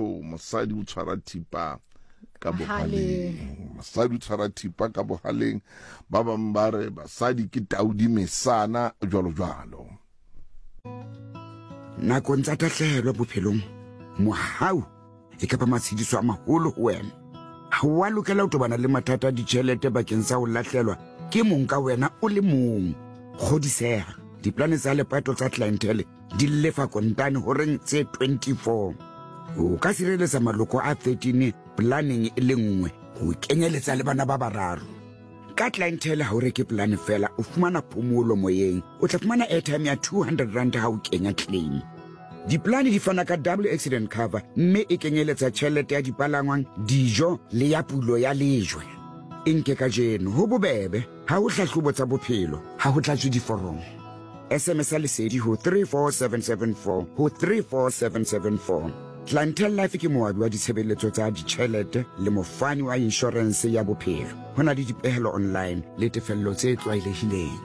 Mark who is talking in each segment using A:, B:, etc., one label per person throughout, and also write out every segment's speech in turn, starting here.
A: bathong, mosadi o tshwara thipa ka bohaleng. Mosadi o tshwara thipa ka bohaleng. Ba bang ba re basadi ke taudi mesana jwalo jwalo.
B: Nakong tsa tahlehelo bophelong, mohau e ka ba matshediso a maholo ho wena. Ha o a lokela ho tobana le mathata a ditjhelete bakeng sa ho lahlelwa ke mong ka wena o le mong. Kgodiseha, diplane tsa lepato tsa Clientele di lefa kontane horeng tse 24. O ka sireletsa maloko a 13 planeng e le nngwe ho kenyeletsa le bana ba bararo. Ka Clientele ha o reke polane fela, o fumana phomolo moyeng. O tla fumana airtime ya 200 rand ha o kenya claim. Dipolane di fana ka double accident cover mme e kenyeletsa tjhelete ya dipalangwang, dijo le ya pulo ya lejwe. E nke kajeno, ho bobebe, ha ho hlahlobo tsa bophelo, ha ho tlatswe diforomo. SMS ya Lesedi ho 34774 ho 34774. Clientele Life ke moabi wa ditshebeletso tsa ditjhelete le mofani wa inshorense ya bophelo. Ho na le dipehelo online le tefello tse tlwaelehileng.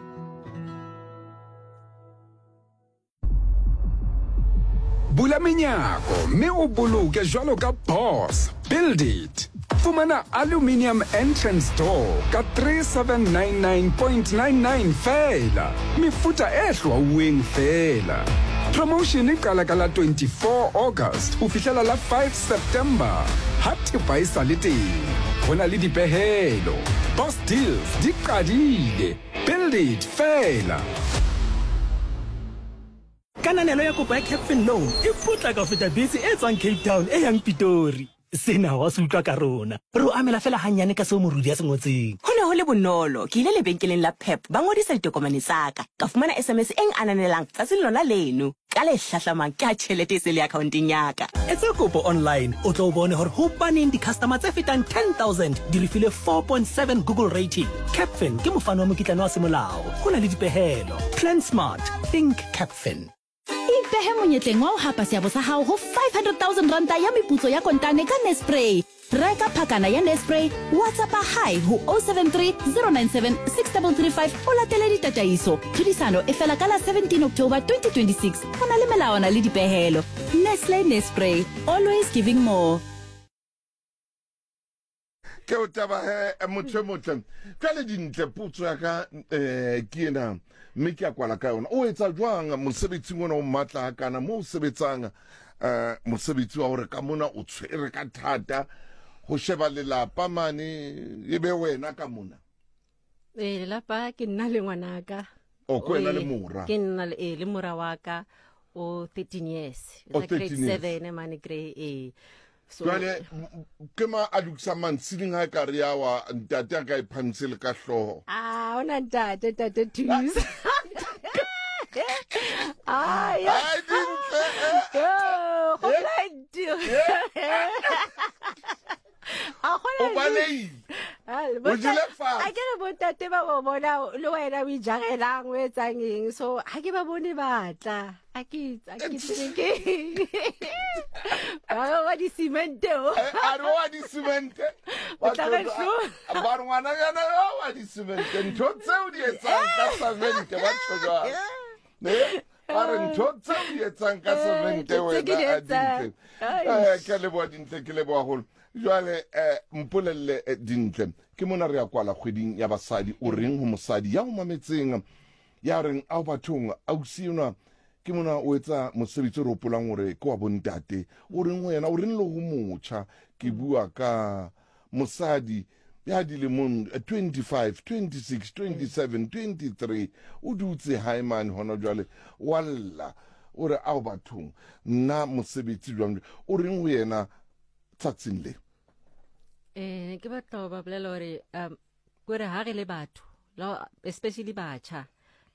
C: Bula menyako mme o boloke jwalo ka boss. Build it. Fumana aluminium entrance door ka 3799.99 feela. Mefuta e hlwauweng feela. Promotion e qala ka la 24 August ho fihlela la 5 September. Ha thepa e sa le teng, ho na le dipehelo. Boss Deals di qadile. Build it feela.
D: Kananelo ya kopo ya Capfin Loan e potlaka ho feta bese e tswang Cape Town e yang Pitori. Sena wa se utlwa ka rona. Re o amela feela hannyane ka seo morudi a se ngotseng.
E: Ho ne ho le bonolo. Ke ile lebenkeleng la Pep, ba ngodisa ditokomane tsa ka. Ka fumana SMS e ngananelang tsatsing lona leno. Ka le hlahlamang ke ha tjhelete e se le akhaonteng ya ka.
D: Etsa kopo online o tlo bone hore hobaneng di-customer tse fetang 10,000 di re file 4.7 Google rating. Capfin ke mofani wa mokitlane wa semolao. Ho na le dipehelo. Plan smart. Think Capfin.
F: Ipehe monyetleng wa ho hapa seabo sa hao ho 500,000 ranta ya meputso ya kontane ka Nespray. Reka phakana ya Nespray, WhatsAppa Hi ho 073 097 6335 o latele ditataiso. Tlhodisano e fela ka la 17 October 2026. Go na le melawana le dipehelo. Nestle Nespray, always giving more.
A: Ke o taba he motho e motle. Jwale Dintle, potso ya ka um ke ena mme ke a kwala ka yona. O etsa jwang mosebetsing ona o matla hakana mo o sebetsang um mosebetsi wa hore ka mona o tshwere ka thata ho sheba lelapa mane e be wena ka mona?
G: Ee, lelapa ke nna le ngwanaka.
A: O ke wena le mora?
G: Ke nna le, ee, le mora wa ka o 13 years.
A: O 13
G: Grade
A: years.
G: 7 mane grade ee. So
A: Jwale ke ma a lokisang mantsiling ha e ka re ya wa ntate a ka e phamise le ka hlooho.
G: Ah, ona ntate, ntate thusa. Ah, ya.
A: Ai, Dintle, eh.
G: Yo, go plenty. A gona
A: O balehile.
G: Ah, le
A: O jele fatshe.
G: A ke re bontate ba bo bona le wena o ijarelang o etsang eng, so ha ke ba bone batla a ke a ke tsebe ke ba re wa di-cement o.
A: Eh, a re wa di-cement.
G: O tla re hlo.
A: Ba re ngwananyana yo wa di-cement, ntho tseo di etsang ka cement ba tjho jwalo. Eh, ba re ntho tseo di etsang ka
G: Eh,
A: cement
G: ntho tse ke
A: wena
G: di
A: a
G: etsang.
A: Dintle.
G: Ai.
A: Eh, ke a leboha Dintle, ke leboha haholo. Jwale eh, mpolelle eh, Dintle, ke mona re ya kwala kgweding ya basadi, o reng ho mosadi ya o mametseng ya reng ao bathong ausi enwa ke mona o etsa mosebetsi o re hopolang hore ke wa bontate, o reng ho yena, o reng le ho motjha? Ke bua ka mosadi ya dilemong 25, 26, 27, 23, o dutse hae mane hona jwale wa lla, o re ao bathong nna mosebetsi jwang, o reng ho yena tsatsing le?
G: Eh, ke batla ho ba bolela hore um kore ha re le batho, especially batjha,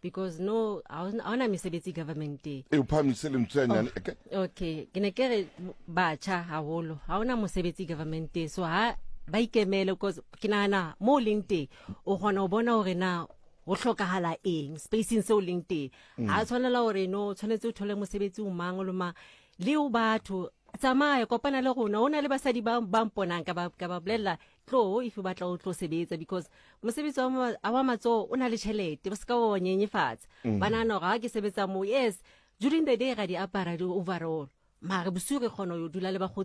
G: because no ha hona mesebetsi governmenteng.
A: E o phahamise lentswe hanyane. Okay.
G: Okay, ke ne ke re batjha haholo ha hona mosebetsi governmenteng, so ha ba ikemele, because ke nahana mo o leng teng o kgona ho bona hore na ho hlokahala eng spacing seo leng teng. Ha tshwanela hore no tshwanetse o thole mosebetsi o mang le mang, le o batho tsamaya kopana le rona, o na le basadi ba ba mponang ka ba ka ba bolella tlo if o batla o tlo sebetsa, because mosebetsi wa wa matsoho o na le tjhelete, ba se ka wa nyenyefatsa. Ba nahana hore ha ke sebetsa moo, yes, during the day ra di apara di overall, mare bosiu re kgona ho dula le bakgotsi.